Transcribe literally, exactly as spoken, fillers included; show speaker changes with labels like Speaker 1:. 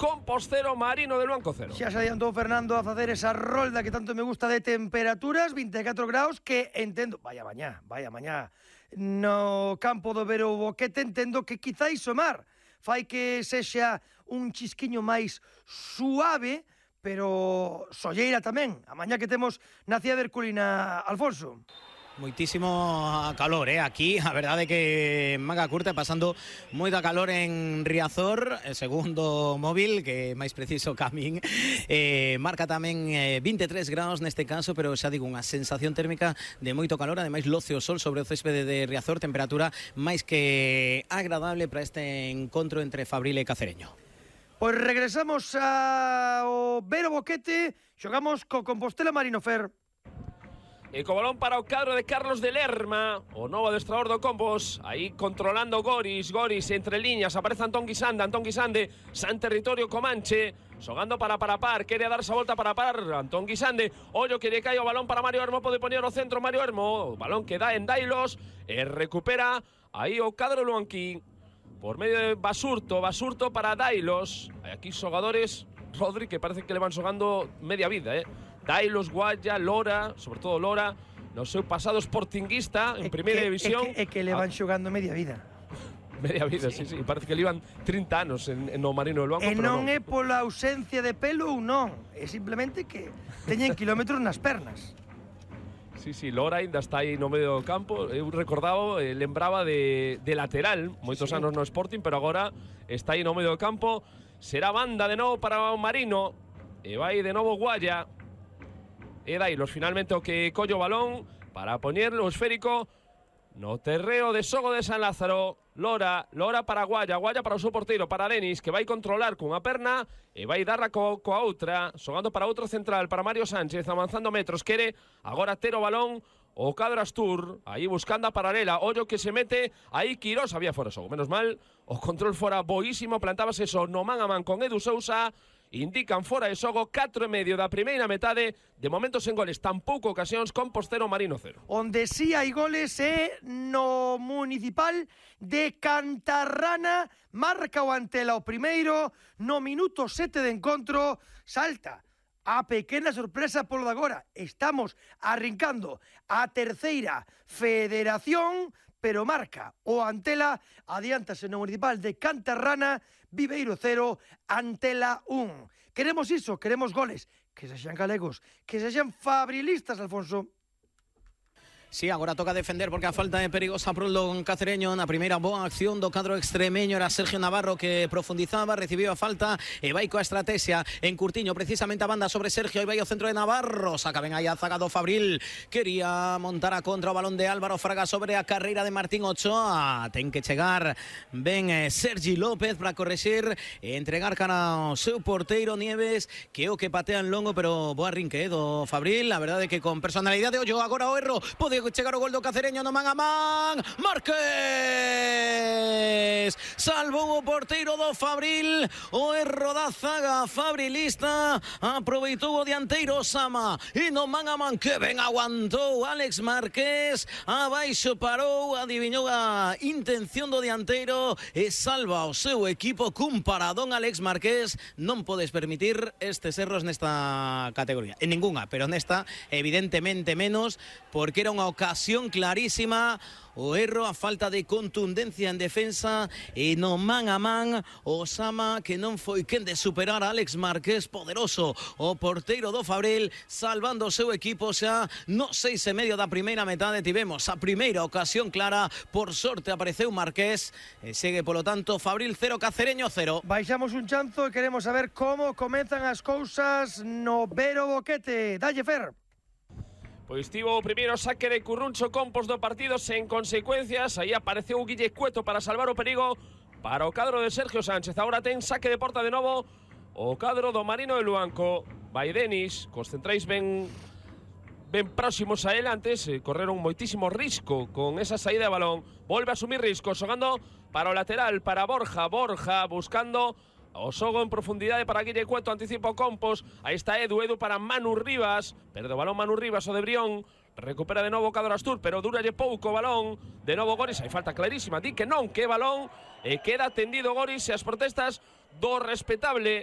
Speaker 1: Compos cero, Marino de Luanco cero.
Speaker 2: Xa se adiantou Fernando a facer esa rolda que tanto me gusta de temperaturas, vinte e catro graus, que entendo, vaya mañá, vaya mañá, no campo do Vero Boquete entendo que quizáis o mar fai que sexa un chisquiño máis suave, pero solleira tamén, a mañá que temos na Cía de Herculina, Alfonso.
Speaker 3: Moitísimo calor, eh, aquí, a verdade que manga curta, pasando moita calor en Riazor, el segundo móvil, que máis preciso que a min, eh, marca tamén eh, vinte e tres graus neste caso, pero xa digo, unha sensación térmica de moito calor, ademais loce o sol sobre o céspede de Riazor, temperatura máis que agradable para este encontro entre Fabril e Cacereño.
Speaker 2: Pois regresamos ao Vero Boquete, xogamos co Compostela Marino Fer.
Speaker 1: E co balón para o cadro de Carlos de Lerma, o novo adestrador do Compos, aí controlando Goris, Goris entre líneas, aparece Antón Guisande, Antón Guisande, San Territorio Comanche, xogando para Parapar, quere darse a volta para par, Antón Guisande, ollo que lle cae o balón para Mario Hermo, pode poñer o centro Mario Hermo, o balón que dá en Dailos, e recupera aí o cadro luanquín, por medio de Basurto, Basurto para Dailos, aquí xogadores, Rodri, que parece que le van xogando media vida, eh, Dailos, Guaya, Lora, sobre todo Lora, no seu pasado sportinguista en primeira división.
Speaker 2: É que, é que le van xogando media vida.
Speaker 1: Media vida, sí, sí, sí. Parece que le iban trinta anos en, en o Marino de Luanco.
Speaker 2: E non, non é pola ausencia de pelo ou non, é simplemente que teñen kilómetros nas pernas.
Speaker 1: Sí, sí, Lora ainda está aí no medio do campo. Eu recordaba, eh, lembraba de, de lateral, moitos sí. anos no Sporting, pero agora está aí no medio do campo. Será banda de novo para o Marino, e vai de novo Guaya. E Dailos finalmente o que colle o balón para poñerlo esférico no terreo de Sogo de San Lázaro. Lora, Lora para Guaya, Guaya para o seu porteiro, para Denis, que vai controlar cunha perna e vai darla co, coa outra, xogando para outro central, para Mario Sánchez, avanzando metros, quere agora ter o balón o cadro Astur, aí buscando a paralela, ollo que se mete, aí Quirós, había fora xogo, menos mal, o control fora boísimo, plantábase eso no man a man con Edu Sousa, indican fora de xogo, catro e medio da primeira metade, de momento sen goles, tampouco ocasións, Compos cero, Marino cero.
Speaker 2: Onde sí hai goles é no municipal de Cantarrana, marca o Antela o primeiro, no minuto sete de encontro, salta a pequena sorpresa polo de agora. Estamos arrincando a terceira federación, pero marca o Antela, adiántase no municipal de Cantarrana, Viveiro cero, Antela un. Queremos iso, queremos goles, que sexan galegos, que sexan fabrilistas, Alfonso.
Speaker 3: Sí, agora toca defender porque a falta de perigosa por o Cacereño na primeira boa acción do cadro extremeño era Sergio Navarro que profundizaba, recibiu a falta e vai coa estrategia en Curtiño, precisamente a banda sobre Sergio e vai ao centro de Navarro, saca ben aí a zaga do Fabril, quería montar a contra o balón de Álvaro Fraga sobre a carreira de Martín Ochoa, ten que chegar ben eh, Sergi López para correxer e entregar cara ao seu porteiro Nieves, que é o que patea en longo, pero boa rinque eh, do Fabril, a verdade que con personalidade, ollo agora o erro, pode chegar o gol do Cacereño no man a man. Márquez salvou o porteiro do Fabril, o erro da zaga fabrilista, aproveitou o dianteiro Osama e no man a man que ben aguantou Alex Márquez, abaixo parou, adiviñou a intención do dianteiro e salva o seu equipo cun paradón. Alex Márquez, non podes permitir estes erros nesta categoría, en ningunha, pero nesta evidentemente menos, porque era unha ocasión clarísima, o erro, a falta de contundencia en defensa e no man a man Osama, que non foi quen de superar a Alex Márquez, poderoso o porteiro do Fabril, salvando o seu equipo xa no seis e medio da primeira metade. Tivemos a primeira ocasión clara, por sorte apareceu Márquez e segue polo tanto Fabril cero, Cacereño cero.
Speaker 2: Baixamos un chanzo e queremos saber como comenzan as cousas no Vero Boquete. Dalle, Fer.
Speaker 1: Pois tivo o primeiro saque de Curruncho Compos do partido sen consecuencias. Aí apareceu o Guille Cueto para salvar o perigo para o cadro de Sergio Sánchez. Agora ten saque de porta de novo o cadro do Marino de Luanco. Vai Denis, cos centrais ben, ben próximos a él. Antes eh, correron moitísimo risco con esa saída de balón. Volve a asumir risco, xogando para o lateral, para Borja. Borja buscando o xogo en profundidade para Guille Cueto, anticipo Compos, aí está Edu, Edu para Manu Rivas, perde o balón Manu Rivas, o de Brión, recupera de novo o cadro Astur, pero duralle pouco o balón, de novo Goris, hai falta clarísima, di que non, que balón, e queda tendido Goris, e as protestas do respetable